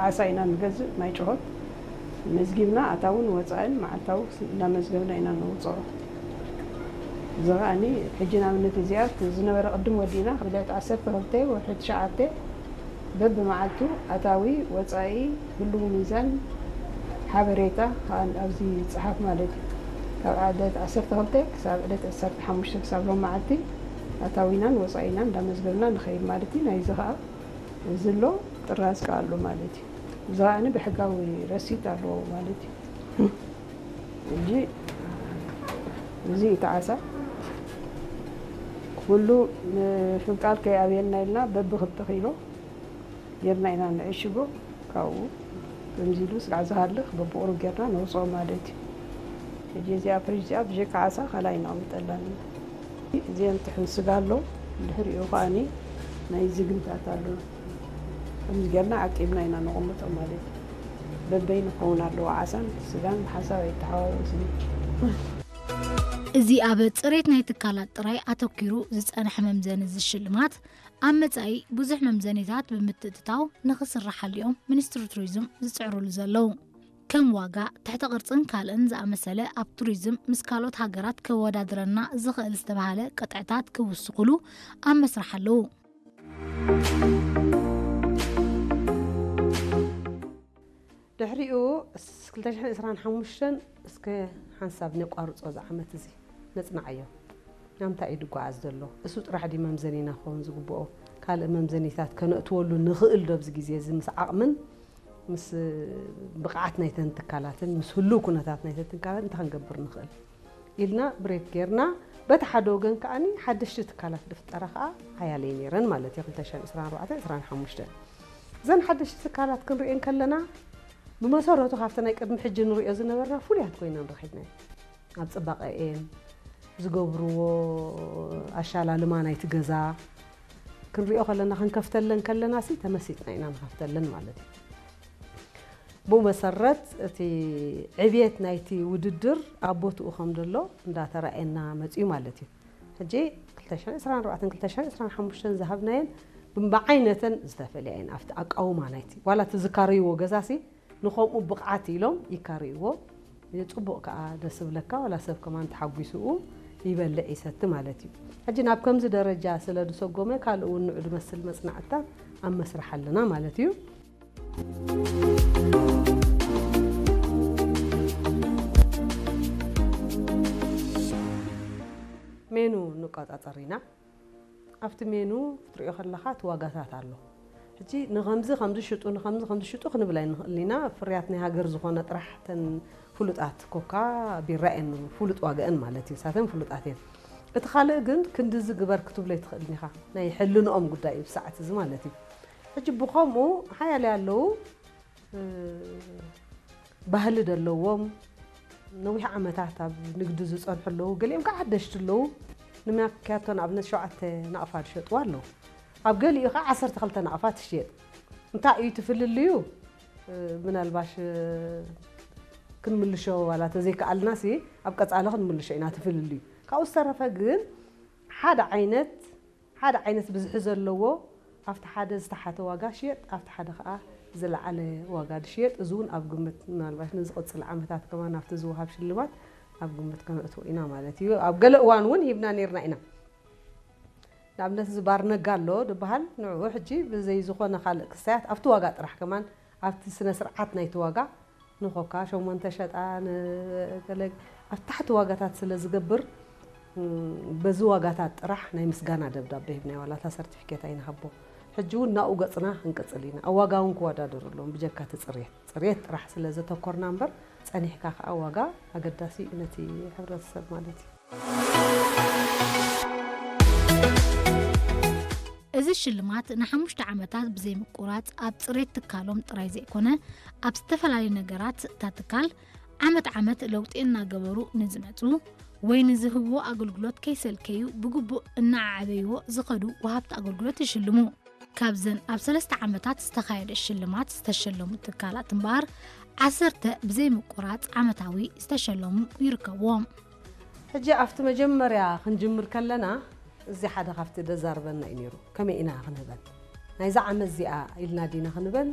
ዓሳ ኢና ንገዝእ፣ ማይ ጭሆት መዝጊብና ኣታውን ወፃእን መዓልታዊ እናመዝገብና ኢና ነውፅኦ። እዚ ከዓኒ ሕጂ ንኣብነት እዚኣ ዝነበረ ቅድም ወዲእና ካብ ዕለት ዓሰርተ ክልተ ወርሒ ትሽዓተ በብመዓልቱ ኣታዊ ወፃኢ ህልው ሚዛን ሓበሬታ ከኣ ኣብዚ ይፅሓፍ ማለት እዩ። ካብ ዕለት ዓሰርተ ክልተ ክሳብ ዕለት ዓሰርተ ሓሙሽተ ክሳብ ሎም መዓልቲ ኣታዊናን ወፃኢናን እንዳመዝገብና ንኸይድ ማለት እዩ። ናይዚ ከኣ እዚ ኣሎ ጥራዝ ከኣ ኣሎ ማለት እዩ። እዚ ከኣ ብሕጋዊ ረሲት ኣለዎ ማለት እዩ። ሕጂ እዚ እዩ እቲ ዓሳ ኩሉ ምፍንቃል ከይኣብየልና ኢልና በብክልተ ኪሎ ጌርና ኢና ንዕሽጎ። ካብኡ ከምዚ ኢሉ ስጋዕ ዝሃልኽ በብቑሩብ ጌርና ነውፅኦ ማለት እዩ። ሕጂ እዚኣ ፍሪጅ እዚኣ ብጀካ ዓሳ ካልኣይ ነቐምጠላን። እዚአን ጥሕን ስጋ ኣሎ፣ ድሕሪኡ ከኣኒ ናይ ዝግምታት ኣሎ። ከምዚ ጌርና ዓቂብና ኢና ነቐምጦ ማለት እዩ። በበይ ንኸውን ኣለዎ ዓሳን ስጋን ብሓንሳብ ኣይተሓዋወስን። እዚ ኣብ ጽሬት ናይ ትካላት ጥራይ ኣተኲሩ ዝጸንሐ መምዘኒ እዚ ሽልማት ኣብ መጻኢ ብዙሕ መምዘኒታት ብምትእትታው ንኽስርሓሉ እዮም ሚኒስትሪ ቱሪዝም ዝጽዕሩሉ ዘለዉ። ከም ዋጋ፣ ትሕተ ቅርጽን ካልእን ዝኣመሰለ ኣብ ቱሪዝም ምስ ካልኦት ሃገራት ከወዳድረና ዝኽእል ዝተባህለ ቅጥዕታት ክውስኹሉ ኣብ መስርሕ ኣለዉ። ድሕሪኡ ክልተ ሽሕን ዕስራን ሓሙሽተን እስከ ሓንሳብ ነቋርጾ እዚ ዓመት እዚ ነጽንዓዮ። ናብ እንታይ እዩ ዝጓዓዝ ዘሎ? እሱ ጥራሕ ድዩ መምዘኒና ክኸውን ዝግብኦ? ካልእ መምዘኒታት ከነእትወሉ ንኽእል ዶ ኣብዚ ግዜ እዚ ምስ ዓቕምን ምስ ብቕዓት ናይተን ትካላትን ምስ ህሉው ኩነታት ናይተን ትካላት እንታይ ክንገብር ንኽእል ኢልና ብሬክ ጌርና፣ በቲ ሓደ ወገን ከኣኒ ሓደሽቲ ትካላት ድፍጠራ ከኣ ሓያለይ ነይረን ማለት እዩ። ክልተ ሽሕን ዕስራን ኣርባዕተን ዕስራን ሓሙሽተን እዘን ሓደሽቲ ትካላት ክንሪኤን ከለና ብመሰረቱ ካብቲ ናይ ቅድሚ ሕጂ ንሪኦ ዝነበርና ፍሉያት ኮይነን ረኺብናየን። ኣብ ጽባቐኤን ዝገብርዎ ኣሻላልማ ናይቲ ገዛ ክንሪኦ ከለና ክንከፍተለን ከለና ሲ ተመሲጥና ኢና ንኸፍተለን ማለት እዩ። ብኡ መሰረት እቲ ዕብየት ናይቲ ውድድር ኣብ ቦትኡ ከም ዘሎ እንዳተራእየና መፅዩ ማለት እዩ። ሕጂ ክልተ ሽሕን ዕስራን ኣርባዕተን ክልተ ሽሕን ዕስራን ሓሙሽተን ዝሃብናየን ብዓይነተን ዝተፈልያ እየን። ኣብቲ ኣቃውማ ናይቲ ዋላ እቲ ዝካረይዎ ገዛሲ ንኸምኡ ብቕዓት ኢሎም ይካረይዎ። ጽቡቕ ከኣ ደስ ዝብለካ ዋላ ሰብ ከማን ተሓጒስኡ ይበልዕ ይሰቲ ማለት እዩ። ሕጂ ናብ ከምዚ ደረጃ ስለ ዝሰጎመ ካልእ እውን ንዑ ዝመስል መጽናዕትታት ኣብ መስርሕ ኣለና ማለት እዩ። ሜኑ ንቆጻጸር ኢና። ኣብቲ ሜኑ ክትሪኦ ከለኻ እቲ ዋጋታት ኣሎ። ሕጂ ንኸምዚ ከምዚ ሽጡ ንኸምዚ ከምዚ ሽጡ ክንብል ኣይንኽእልን ኢና። ፍርያት ናይ ሃገር ዝኾነ ጥራሕ ተን ፍሉጣት ኮካ ቢራ እየን ፍሉጥ ዋጋአን ማለት እዩ። ሳተን ፍሉጣት እየን። እቲ ካልእ ግን ክንድዚ ግበር ክትብሎ ኣይትኽእልን ኢኻ። ናይ ሕልንኦም ጉዳይ እዩ ብሰዓት እዚ ማለት እዩ። ሕጂ ብኸምኡ ሓያለ ኣለዉ። ባህሊ ዘለዎም ነዊሕ ዓመታት ኣብ ንግዲ ዝፀንሑ ኣለዉ። ገሊኦም ከዓ ሓደሽቲ ኣለዉ። ንማክያቶ ንኣብነት ሸውዓተ ናቕፋ ዝሸጥዋ ኣለዉ። ኣብ ገሊኡ ከዓ ዓሰርተ ክልተ ናቕፋ ትሽየጥ። እንታይ እዩ ትፍልልዩ? ምናልባሽ ክንምልሾ ዋላ ተዘይከኣልና ሲ ኣብ ቀፃሊ ክንምልሾ ኢና ትፍልልዩ። ካብኡ ዝተረፈ ግን ሓደ ዓይነት ሓደ ዓይነት ብዝሒ ዘለዎ ኣብቲ ሓደ ዝተሓተ ዋጋ ሽየጥ ኣብቲ ሓደ ከዓ ዝለዓለ ዋጋ ድሽየጥ። እዚ እውን ኣብ ግምት ምናልባሽ ንዝቕፅል ዓመታት ከማን ኣብቲ ዝወሃብ ሽልማት ኣብ ግምት ከነእትዎ ኢና ማለት እዩ። ኣብ ገለ እዋን እውን ሂብና ነይርና ኢና። ንኣብነት እዚ ባር ነጋ ኣሎ ድበሃል ንዕኡ ሕጂ ብዘይ ዝኾነ ካልእ ክሳያት ኣብቲ ዋጋ ጥራሕ ከማን ኣብቲ ስነ ስርዓት ናይቲ ዋጋ ንኾካ ሸሞንተ ሸጣ ንገለ ኣብ ታሕቲ ዋጋታት ስለ ዝገብር በዚ ዋጋታት ጥራሕ ናይ ምስጋና ደብዳቤ ሂብናዮ ዋላ እታ ሰርቲፊኬት ኣይንሃቦ። ሕጂ እውን ናብኡ ገፅና ክንቅፅል ኢና። ኣብ ዋጋ እውን ክወዳደሩ ኣለዎም ብጀካ እቲ ፅርየት ፅርየት ጥራሕ ስለ ዘተኮርና እምበር ፀኒሕካ ከዓ ዋጋ ኣገዳሲ እዩ ነቲ ሕብረተሰብ ማለት እዩ። እዚ ሽልማት ንሓሙሽተ ዓመታት ብዘይምቁራፅ ኣብ ፅሬት ትካሎም ጥራይ ዘይኮነ ኣብ ዝተፈላለዩ ነገራት እታ ትካል ዓመት ዓመት ለውጢ እናገበሩ ንዝመፁ ወይ ንዝህብዎ ኣገልግሎት ከይሰልከዩ ብግቡእ እናዓዓበይዎ ዝኸዱ ወሃብቲ ኣገልግሎት ይሽልሙ። ካብዘን ኣብ ሰለስተ ዓመታት ዝተኻየደ ሽልማት ዝተሸለሙ ትካላት እምበኣር ዓሰርተ ብዘይምቁራፅ ዓመታዊ ዝተሸለሙ ይርከብዎም። ሕጂ ኣብቲ መጀመርያ ክንጅምር ከለና እዚ ሓደ ካብቲ ደዛርበና እዩ ነይሩ። ከመይ ኢና ክንህበን ናይዛ ዓመት እዚኣ ኢልና ዲና ክንበን